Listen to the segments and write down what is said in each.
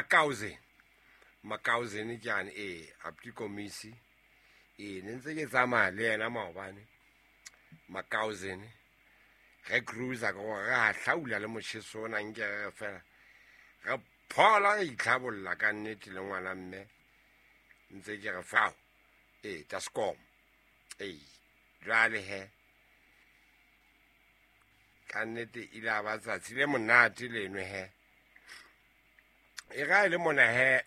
Makauzen. Makauzen ke ane, ee, abuti Komisi. Ee, ne ntse ke tsamaya le yena maobane. Makauzen. Re cruiser ka gore re hahlaula le motjheso ona nke re fela. Re phola re itlhabolla ka nnete le ngwana mme. Ntse ke re fao. Ee, taskom. Ee, jwale he. Ka nnete ile a ba tsatsi le monate leno he. E ga e le mona he,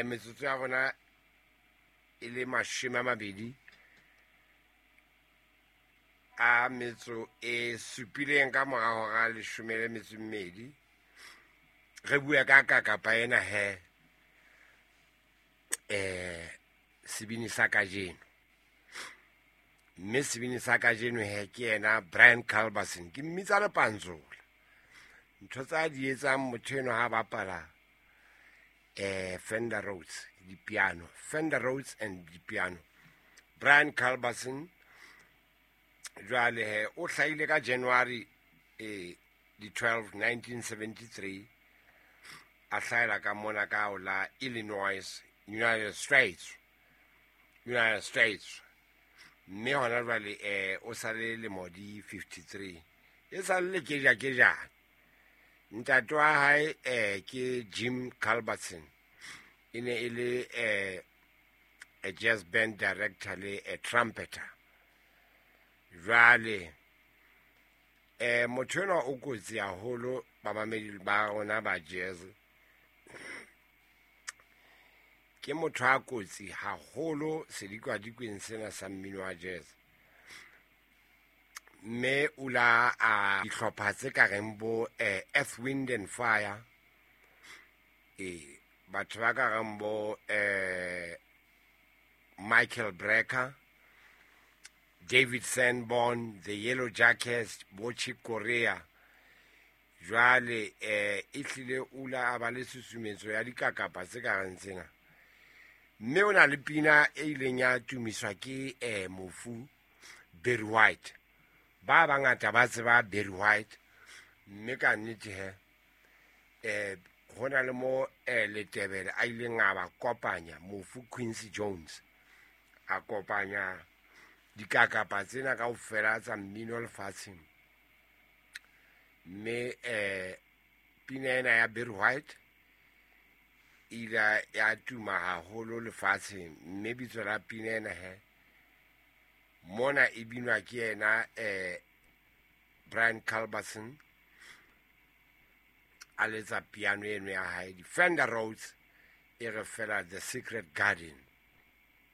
metsotso ya rona e le 27 ka mora hora 12. Re bua ka kakapa ena he, sebini sa kajeno. Mme sebini sa kajeno he ke yena Brian Culberson. Ke mmitsa Lepantsola. Ntho tsa di etsang motho eno ha bapala Fender Rhodes, di-piano. Fender Rhodes and di-piano. Brian Culberson jwale he o hlahile ka January di 12 1973, a hlahela ka mona ka ho la Illinois, United States. United States. Mme hona jwale o sa le lemo di 53. E sa le keja-kejana. Ntate wa hae ke Jim Culberson. E ne e le a jazz band director le a trumpeter. Jwale motho enwa o kotsi haholo bamamedi ba rona ba jazz. Ke motho a kotsi haholo sedikadikweng sena sa mmino wa jazz. Mme o la a dihlopha tse ka reng bo Earth, Wind and Fire. Batho ba ka reng bo Michael Brecker, David Sanborn, The Yellow Jackets, bo Chick Corea. Jwale e hlile o la a ba le susumetso ya dikakapa tse ka reng tsena. Mme o na le pina e ileng ya tumiswa ke mofu Barry White. Ba bangata ba tseba Barry White, mme ka nnete he ho na le mo Letebele a ileng a ba kopanya mofu Quincy Jones, a kopanya dikakapa tsena kaofela tsa mmino lefatsheng. Mme pina ena ya Barry White e ile ya tuma haholo lefatsheng, mme bitso la pina ena he mona e binwa ke yena Brian Culberson a letsa piano eno ya hae, di Fender Rhodes, e re fela The Secret Garden.